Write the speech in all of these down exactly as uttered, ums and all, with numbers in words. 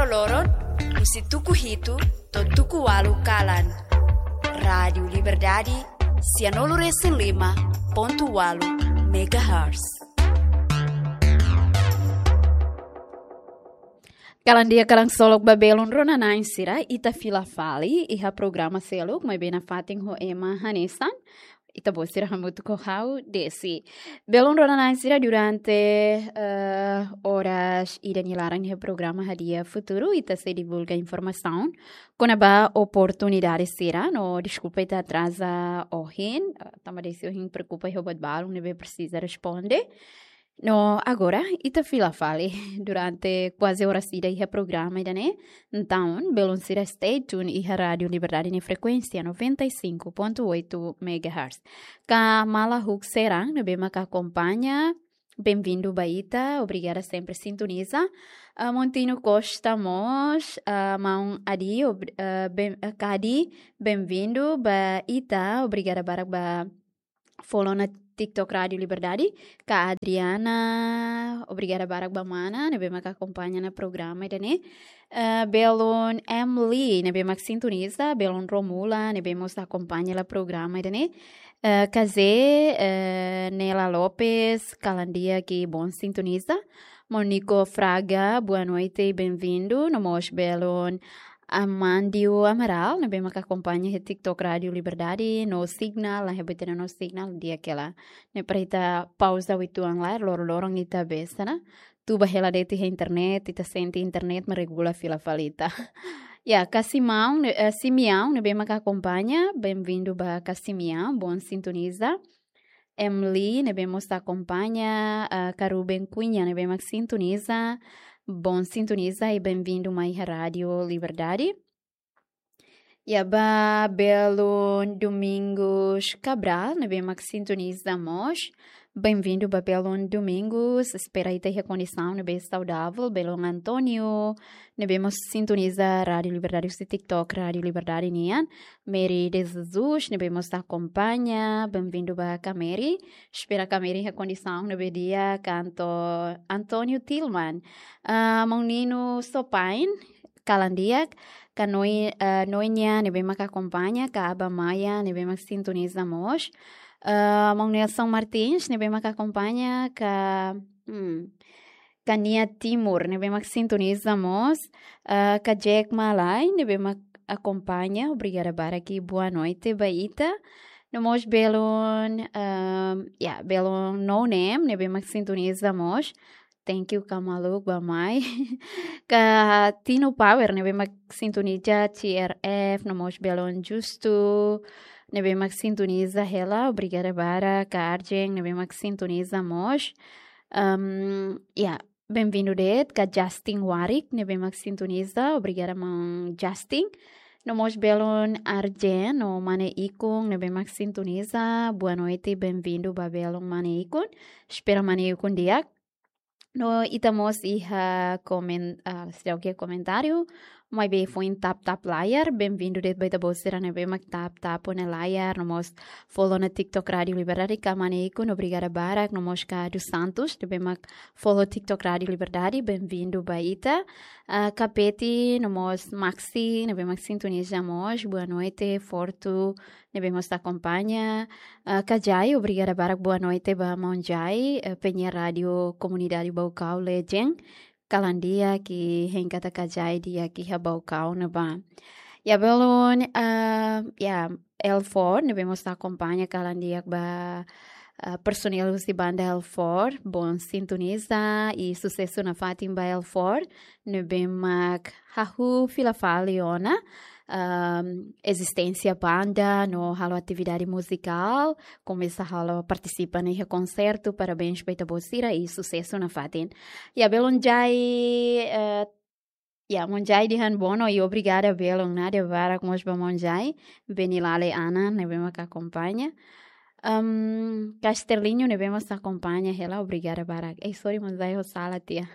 Loron, husi tuku hitu to'o tuku ualu kalan. Rádiu Liberdade, sianulu resin lima pontu ualu megahertz. Kalan di'ak, kalan ksolok ba belun rona-na'in sira, ita fila fali iha programa seluk, maibé nafatin ho ema hanesan. Ita-boot sira hamutuk ho ha'u, Desi. Belun rona-na'in sira, durante, eh, oras ida nia laran iha programa Hadi'a Futuru, ita sei divulga informasaun kona-ba oportunidade sira, no deskulpa ita atraza ohin, eh, tanba Desi ohin preokupa iha buat balun ne'ebé presiza responde. No agora, ita fila fali durante kuaze oras ida iha programa ida-ne'e. Entaun, belun sira stay tune iha Rádiu Liberdade nia frekuénsia noventa e cinco ponto oito megahertz. Ka Mala Huk Serang, ne'ebé maka akompaña, benvindu ba ita, obrigada sempre sintoniza. Ah, Montino Costa mós, ah, maun Adi, ob-, ah, ben-, ah, Kadi, benvindu ba ita, obrigada barak ba follow ona TikTok Rádiu Liberdade, ka Adriana, obrigada barak ba mana ne'ebé maka akompaña ona programa ida-ne'e. Eh, belun Emily, ne'ebé mak sintoniza, belun Romula, ne'ebé mós akompaña hela programa ida-ne'e. Eh, Kazé, eh, Nela Lopes, kalan di'ak i bom sintoniza. Monico Fraga, boa noite, benvindu. No mós belun Amandio Amaral, ne'ebé maka akompaña iha TikTok Rádiu Liberdade, no signal, la hebat no signal, di'ak hela. Ne'e para ita pauza uitoan lai, loron-loron ita besa, ne'e? Tuba hela de'it iha internet, ita sente internet mak regula fila fali ita. Ya, ka Simeão, ne'e, eh, Simeão, ne'ebé maka akompaña, benvindu ba ka Simeão, bom sintoniza. Emily, ne'ebé mós akompaña, ah, ka Ruben Cunha, ne'ebé mak sintoniza, bom sintoniza i benvindu mai iha Rádiu Liberdade. Ya, ba belun Domingos Cabral, ne'ebé mak sintoniza mós, benvindu ba belun Domingos, espera ita iha kondisaun ne'ebé saudavel. Belun António, ne'ebé mós sintoniza Rádiu Liberdade husi TikTok Rádiu Liberdade nian. Mary de Jesus, ne'ebé mós akompaña, benvindu ba ka Mary. Espera ka Mary iha kondisaun ne'ebé di'ak. Ka Anto-, António Tilman. Ah, maun Nino Sopain, kalan di'ak, ka Noi-, ah, Noenia, ne'ebé maka akompaña, ka Aba Maia, ne'ebé mak sintoniza mós. Ah, maun Nelson Martins, ne'ebé maka akompaña, ka, hmm, ka Nia Timur, ne'ebé mak sintoniza mós, ah, ka Jack Malai, ne'ebé mak akompaña, obrigada barak i boa noite ba ita. No mós belun, ehm, ya, belun No Name, ne'ebé mak sintoniza mós. Thank you, ka maluk ba mai. Ka Tino Power, ne'ebé mak sintoniza T R F, no mós belun Justo, ne'ebé mak sintoniza hela, obrigada barak, ka Arjen, ne'ebé mak sintoniza mós. Ehm, ya, benvindu de'it, ka Justin Warik, ne'ebé mak sintoniza, obrigada maun Justin. No mós belun Arjen, no mane Ikun, ne'ebé mak sintoniza, boa noite, benvindu ba belun mane Ikun. Espera mane Ikun di'ak. No ita mós iha komen-, ah, seidauk iha komentáriu, maibé foin tap-tap layar, benvindu de'it ba ita-boot sira ne'ebé mak tap-tap ona layar, no mós follow ona TikTok Rádiu Liberdade, ka mane Ikun, obrigada barak, no mós ka dos Santos, ne'ebé mak follow TikTok Rádiu Liberdade, benvindu ba ita. Ah, ka Peti, no mós Maxi, ne'ebé mak sintoniza mós, boa noite, Fortu, ne'ebé mós akompaña. Ah, ka Jai, obrigada barak, boa noite ba maun Jai, eh, penyiar rádiu komunidade Baucau Legend. Kalan di'ak i hein katak ka Jai di'ak iha Baucau ne'ebá. Ya, belun, ah, ya, L four, ne'ebé mós akompaña, kalan di'ak ba, ah, personel husi banda L four, bom sintoniza i susesu nafatin ba L four, ne'ebé mak hahú fila fali ona, ehm, ezisténsia banda no halo atividade muzikál, komesa halo partisipa ona iha konsertu, parabéns ba ita-boot sira i susesu nafatin. Ya, belun Jai, eh, ya, maun Jai dehan bono i obrigada belun, nada barak mós ba maun Jai, Benilale Ana, ne'ebé mak akompaña. Ehm, ka Sterlinho, ne'ebé mós akompaña hela, obrigada barak. Eh, sorry, maun Jai, ha'u sala tiha.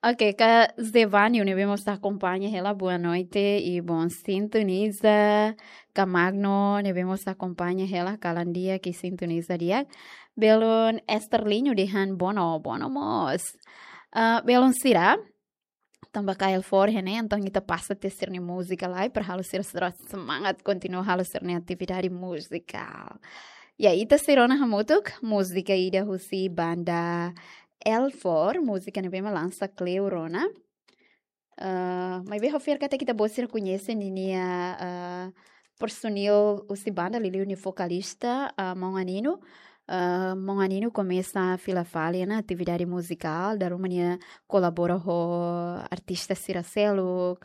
Ok, ka Zevanio, ne'ebé mós akompaña hela, boa noite i bom sintoniza. Ka Magno, ne'ebé mós akompaña hela, kalan di'ak i sintoniza di'ak. Belun Sterlinho dehan bono, bono mós. Ah, belun sira, tanba kaer L four ne'e, entaun ita pasa tiha sira-nia múzika lai para halo sira, sira semangat kontinua halo sira-nia atividade muzikál. Ya, ita sei rona hamutuk múzika ida husi banda L four, múzika ne'ebé mak lansa kleur ona. Ah, maibé ha'u fiar katak ita-boot sira koñese ninia, ah, personil husi banda, liuliu nia vokalista, ah, maun Anino. Ah, maun Anino komesa fila fali ona atividade muzikál, dala ruma nia kolabora ho artista sira seluk.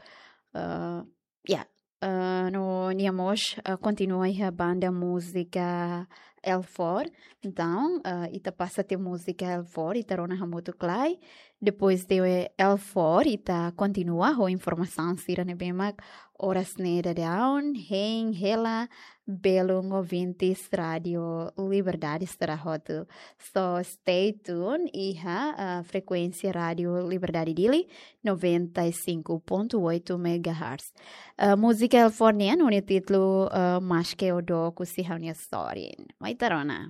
Ah, ya, ah, no nia mós, ah, kontinua iha banda múzika L four. Entaun, ah, ita pasa tiha múzika L four, ita rona hamutuk lai. Depois de L four, ita kontinua ho informasaun sira ne'ebé mak oras ne'e daudaun hein hela belun ouvintes Rádio Liberdade sira hotu. So stay tuned iha, ah, frekuénsia Rádio Liberdade Dili, noventa e cinco ponto oito megahertz. Ah, múzika L four nian ho nia títulu, ah, Maske O Dook Husi Ha'u-nia Sorin. Mai ita rona.